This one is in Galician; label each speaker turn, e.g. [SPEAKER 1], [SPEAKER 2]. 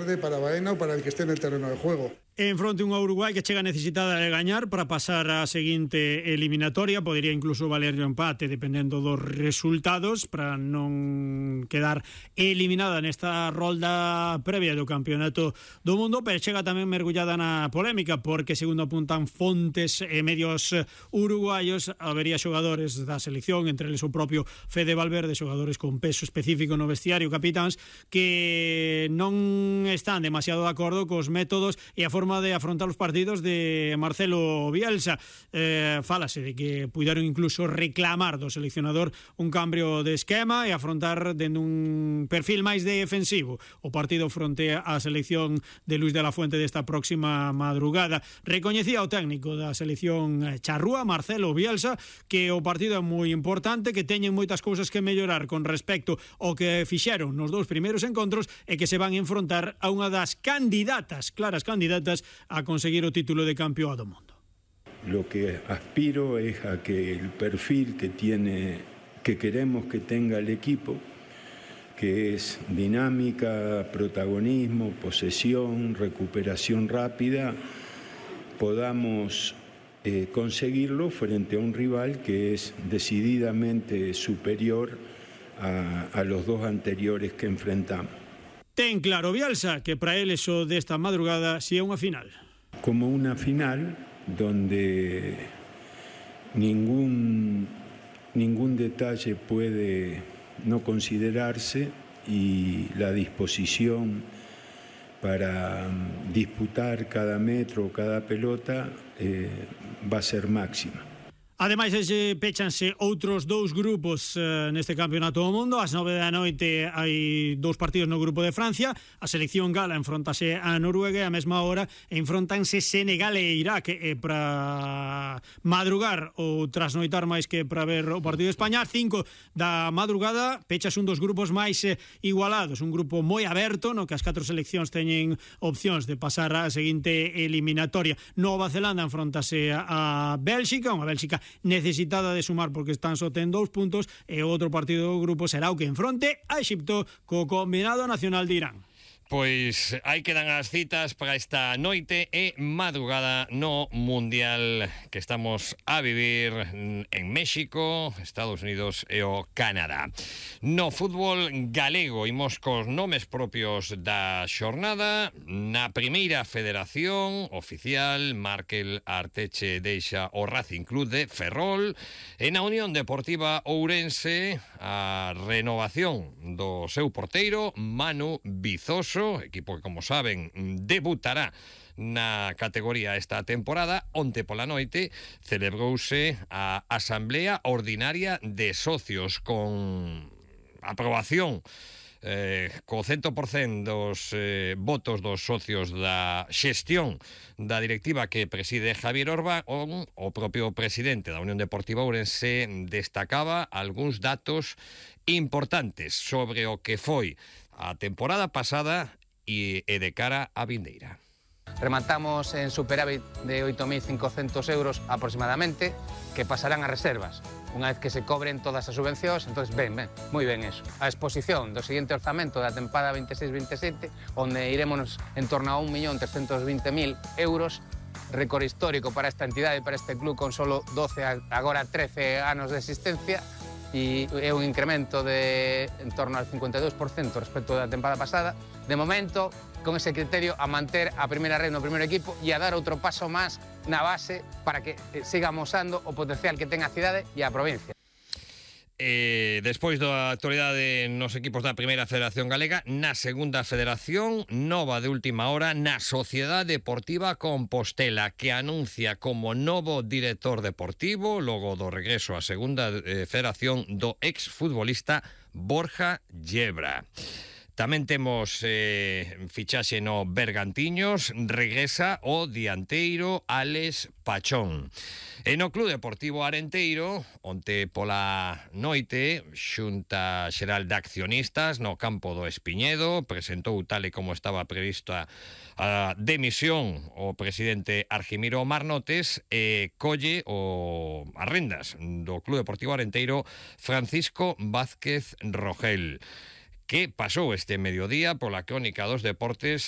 [SPEAKER 1] tarde para Baena o para el que esté en el terreno de juego.
[SPEAKER 2] En fronte unha Uruguai que chega necesitada de gañar para pasar á seguinte eliminatoria. Podería incluso valer o empate dependendo dos resultados para non quedar eliminada nesta rolda previa do Campeonato do Mundo, pero chega tamén mergullada na polémica porque, segundo apuntan fontes e medios uruguayos, habería xogadores da selección, entre eles o propio Fede Valverde, xogadores con peso específico no vestiario, capitáns, que non están demasiado de acordo cos métodos e a forma de afrontar os partidos de Marcelo Bielsa. Fálase de que puideron incluso reclamar do seleccionador un cambio de esquema e afrontar dende un perfil máis defensivo o partido fronte á selección de Luis de la Fuente desta próxima madrugada. Recoñecía o técnico da selección charrúa, Marcelo Bielsa, que o partido é moi importante, que teñen moitas cousas que mellorar con respecto ao que fixeron nos dous primeiros encontros e que se van a enfrontar a unha das candidatas, claras candidatas, a conseguir o título de campeón do mundo.
[SPEAKER 3] Lo que aspiro es a que el perfil que queremos que tenga el equipo, que es dinámica, protagonismo, posesión, recuperación rápida, podamos conseguirlo frente a un rival que es decididamente superior a los dos anteriores que enfrentamos.
[SPEAKER 2] Ten claro Bielsa que para él eso desta madrugada si é unha final.
[SPEAKER 3] Como una final donde ningún detalle puede no considerarse y la disposición para disputar cada metro, cada pelota va a ser máxima.
[SPEAKER 2] Ademais, péchanse outros dous grupos neste Campeonato do Mundo. Ás 9 da noite hai dous partidos no grupo de Francia. A selección gala enfrontase a Noruega e a mesma hora enfrontanse Senegal e Irak para madrugar ou trasnoitar máis que para ver o partido de España. 5 da madrugada pechas un dos grupos máis igualados, un grupo moi aberto no que as 4 seleccións teñen opcións de pasar á seguinte eliminatoria. Nova Zelanda enfrontase a Bélxica, unha Bélxica necesitada de sumar porque están só ten 2 puntos, e o outro partido do grupo será o que enfronte a Exipto co combinado nacional de Irán.
[SPEAKER 4] Pois aí quedan as citas para esta noite e madrugada no Mundial que estamos a vivir en México, Estados Unidos e o Canadá. No fútbol galego imos cos nomes propios da xornada. Na primeira federación oficial, Markel Arteche deixa o Racing Club de Ferrol, e na Unión Deportiva Ourense a renovación do seu porteiro Manu Vizoso, equipo que, como saben, debutará na categoría esta temporada. Onte pola noite celebrouse a Asamblea Ordinaria de Socios con aprobación co 100% dos votos dos socios da xestión da directiva que preside Javier Orbán. O propio presidente da Unión Deportiva Ourense destacaba algúns datos importantes sobre o que foi a temporada pasada e de cara a vindeira.
[SPEAKER 5] Rematamos en superávit de 8.500 euros aproximadamente, que pasarán a reservas. Unha vez que se cobren todas as subvencións, entonces moi ben eso. A exposición do seguinte orzamento da tempada 26-27, onde iremos en torno a 1.320.000 euros, récord histórico para esta entidade e para este club con solo 12, agora 13 anos de existencia, e é un incremento de en torno al 52% respecto da tempada pasada. De momento, con ese criterio, a manter a primeira red no primeiro equipo e a dar outro paso máis na base para que siga amosando o potencial que ten a cidade e a provincia.
[SPEAKER 4] Despois da actualidade nos equipos da Primeira Federación Galega, na Segunda Federación, nova de última hora na Sociedade Deportiva Compostela, que anuncia como novo director deportivo, logo do regreso á Segunda Federación, do exfutbolista Borja Llebra. Tamén temos fichaxe no Bergantiños, regresa o dianteiro Alex Pachón. E no Club Deportivo Arenteiro, onte pola noite, Xunta Xeral de Accionistas no campo do Espiñedo presentou, tal e como estaba prevista a demisión, o presidente Argimiro Marnotes, e colle as rendas do Club Deportivo Arenteiro Francisco Vázquez Rogel, que pasou este mediodía pola crónica dos deportes